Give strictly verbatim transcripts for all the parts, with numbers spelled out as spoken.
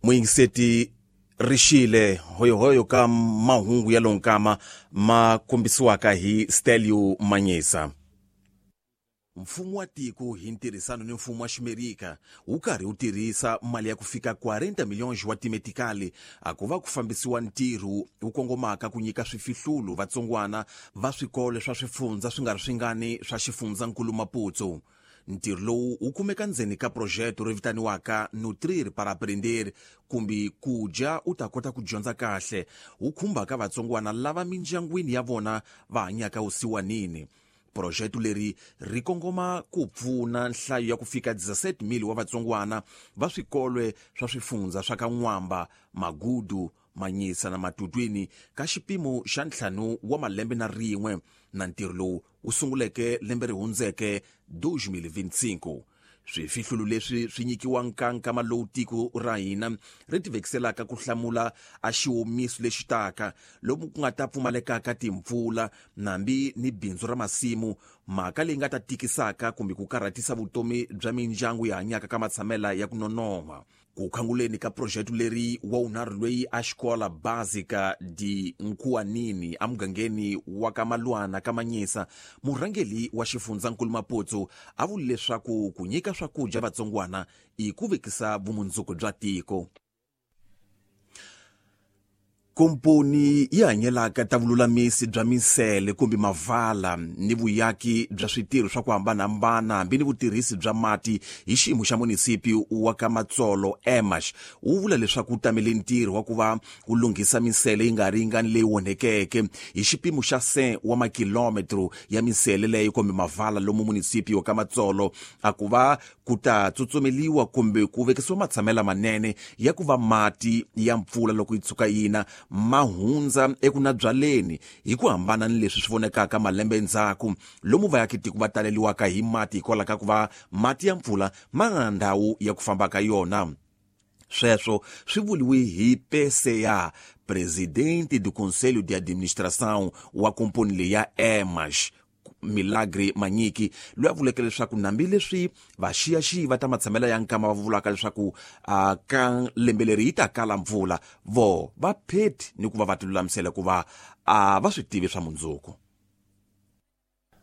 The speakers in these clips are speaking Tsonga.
Muyingiseti rixile hoyohoyo ka mahungu ya lonkama ma kombisiwaka hi Stelio Manyisa. Mfumo wa tiko hi ntirhisano ni mfumo wa Ximerika wu karhi wu tirhisa mali ya ku fika quarenta milhões wa timetikali a ku va ku fambisiwa ntirho wu kongomaka ku nyika swifihlulu vatsongwana va swikolo swa swifundza swi nga ri swingani swa xifundzankulu Maputo. Ntirho lowu wu kumeka ndzeni ka projeto ri vitaniwaka Nutrir para Aprender, kumbe ku dya u ta kota ku dyondza kahle, wu khumbaka vatsongwana lava mindyangwini ya vona va hanyaka vusiwanini. Projeto leri ri kongoma ku pfuna nhlayo ya ku fika dezesete mil wa vatsongwana va swikolwe swa swifundza swa ka N'wamba, Magudu, Manyisa na Matutwini ka xipimo xa ntlhanu wa malembe na rin'we, na ntirho lowu wu sunguleke lembe ri hundzeke dois mil e vinte e cinco. Swifihlulu leswi swi nyikiwa nkankama lowu tiko ra hina ri tivekiselaka ku hlamula a xiwomiso lexi taka lomu ku nga ta pfumalekaka timpfula nambi ni bindzu ra masimu, mhaka leyi nga ta tikisaka kumbe ku karhatisa vutomi bya mindyangu yi hanyaka ka matshamela ya ku nonoha. Ku khanguleni ka projeto leri wa wunharhu loyi a xikola Básica de Nkuanini emugangeni wa ka Malwana ka Manyisa, murhangeri wa xifundzankulu Maputo a vule leswaku ku nyika swakudya vatsongwana i ku vekisa vumundzuku bya tiko. Komponi yi hanyelaka ta vululamisi bya minsele kumbe mavala ni vuyaki bya switirho swa ku hambanahambana hambi ni vutirhisi bya mati hi xiyimo xa munisipi wa ka Matsolo Emash wu vula leswaku wu tamele ntirho wa ku va wu lunghisa minsele yi nga ringani leyi onhekeke hi xipimo xa cent wa makilometro ya minsele leyi kumbe mavala lomu munisipi wa ka Matsolo a ku va ku ta tsutsumeliwa kumbe ku vekisiwa matshamela manene ya ku va mati ya mpfula loko yi tshuka yina ma hundza ekunabyaleni hi ku hambana ni leswi swi vonekaka malembe endzhaku lomu vayakitiko va taleliwaka hi mati hikwalaho ka ku va mati ya mpfula ma nga na ndhawu ya ku famba ka yona. Sweswo swi vuriwe hi P C A, presidente do Conselho de Administração wa komponi leyi ya Emash, Milagre Manyiki, loyi a vuleke leswaku hambileswi vaxiyaxiyi va ta matshamela ya nkama va vulaka leswaku uh, ka lembe leri yi ta kala mpfula, vo va pheti ni ku va va tilulamisela ku va uh, va swi tivi swa mundzuku.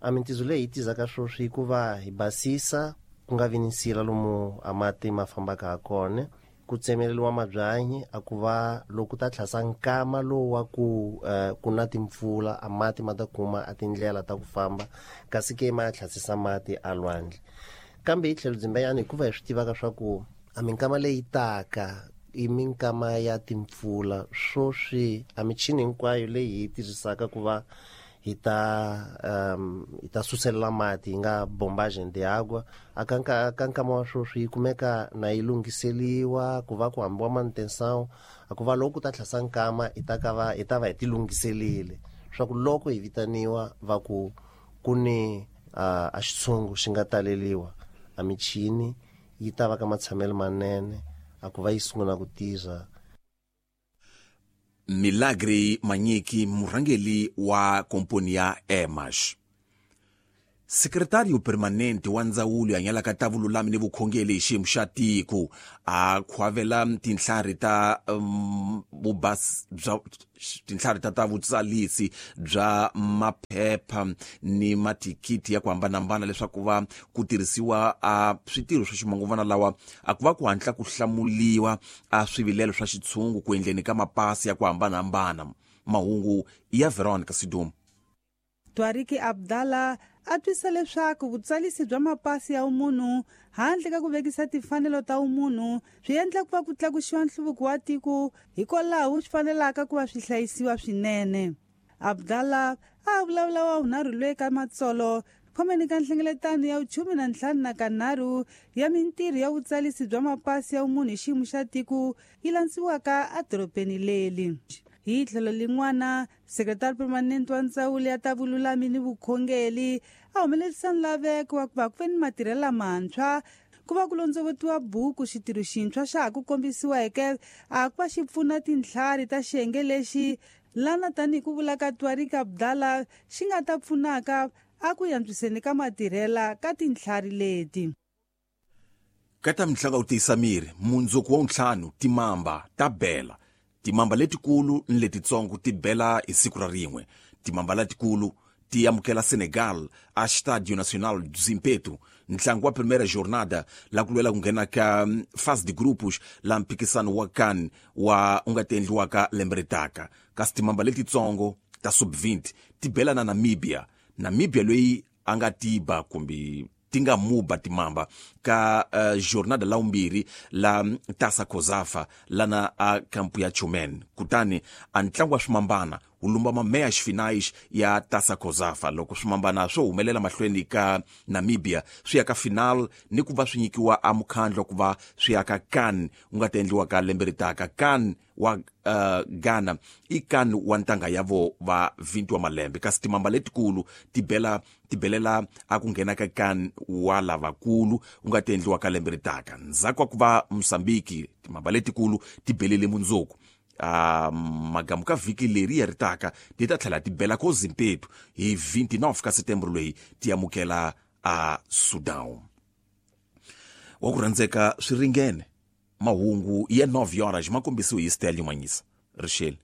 A mintizo leyi yi tizaka sweswi i ku va hi basisa ku nga vi ni nsila lomu a mati ma fambaka ha kona, ku tsemeleriwa mabyanyi a ku va loko ta tlhasa nkama lowu wa ku uh, ku na timpfula a mati ma ta kuma a tindlela ta ku famba, kasi ke ma ya tlhasisa mati a lwandle. Kambe hi tlhelo dzimbenyana hikuva hi swi tivaka swa ku a minkama leyi taka i minkama ya timpfula, swoswi a michini hinkwayo leyi hi yi tirhisaka ku va hi ta um hi ta suselela mati hi nga bombagem de água a ka ka nkama wa sweswi yi kumeka na yi lunghiseliwa ku va ku hambiwa manutenção a ku va loko ku ta tlhasa nkama hi ta ka va hi ta va hi ti lunghiselile swa ku loko hi vitaniwa va ku ku ni uh, a xitshungu xi nga taleliwa a michini yi ta va ka matshamelo manene a ku va yi sungula ku tirha. Milagre Manyiki, murhangeri wa komponi ya Emash. Sekretário permanente wa ndzawulo ya hanyelaka ta vululami ni vukhongeri hi xiyimo xa tiko a khwavela tintlhari ta um, vubas bya tintlhari ta ta vutsalisi bya maphepha ni mathikithi ya ku hambanahambana leswaku va ku tirhisiwa a switirho swa ximanguvana lawa a ku va ku hatla ku hlamuliwa a swivilelo swa xitshungu ku endleni ka mapasi ya ku hambanahambana. Mahungu ya Veronica Sidum. Twariki Abdallah a twisa leswaku vutsalisi bya mapasi ya umunhu handle ka ku vekisa timfanelo ta umunhu swi endla ku va ku tlakusiwa nhluvuko wa tiko, hikwalaho swi fanelaka ku va swi hlayisiwa swinene. Abdallah a vulavula wa vunharhu loyi ka Matsolo khomeni ka nhlengeletano ya vuchume na ntlhanu na kanharhu ya mintirho ya vutsalisi bya mapasi ya umunhu hi xiyimo xa tiko yi landsiwaka edorobeni leri. Hi tlhelo lin'wana, sekretari permanente wa ndzawulo ya ta vululami ni vukhongeri a humelerisa nlaveko wa ku va ku ve ni matirhelo lamantshwa ku va ku londzovotiwa buku xitirho xintshwa xa ha ku kombisiweke a ku va xi pfuna tintlhari ta xiyenge lexi lana tanihi ku vula ka Twariki Abdallah xi nga ta pfunaka a ku antswiseni ka matirhela ka tintlhari leti. Ka ta mitlangu ya ku tiyisa miri, mundzuku wa ntlhanu timamba ta bela. Timamba letikulu ni letitsongo ti bela hi siku ra rin'we. Timamba letikulu ti amukela Senegal a Estádio Nacional do Zimpeto, ntlangu wa primeira jornada la ku lwela ku nghena ka fase de grupos la mphikisano wa CAN wa u nga ta endliwaka lembe ri taka. Kasi timamba letitsongo ta sub twenty ti bela na Namibia. Namibia loyi a nga tiba kumbe ti nga muba timamba ka uh, jornada la umbirhi la Tasa Kozafa lana a kampu ya Chumen. Kutani a ntlangu wa swimambana wu lumba mameyas finais ya Tasa Kozafa. Loko swimambana swo humelela mahlweni ka Namibia swi ya ka final ni ku va swi nyikiwa a mukhandlo ku va swi ya ka CAN wu nga ta endliwa ka lembe ri taka. CAN wa uh, Ghana i CAN wa ntanga ya vo va twenty wa malembe. Kasi timamba letikulu ti bela ti belela a ku nghena ka CAN wa lavakulu wu nga ta endliwa ka lembe ri taka. Ndzhaku wa ku va Mozambique timamba letikulu ti belele mundzuku. Uh, magamu ka vhiki leri ya ri taka ti ta tlhela ti bela ko Zimpeto hi twenty-nine ka Setembro leyi ti amukela a Sudan. Wa ku rhandzeka swi ringene mahungu ya nine horas ma kombisiwe hi Stelio Manyisa. Rixele.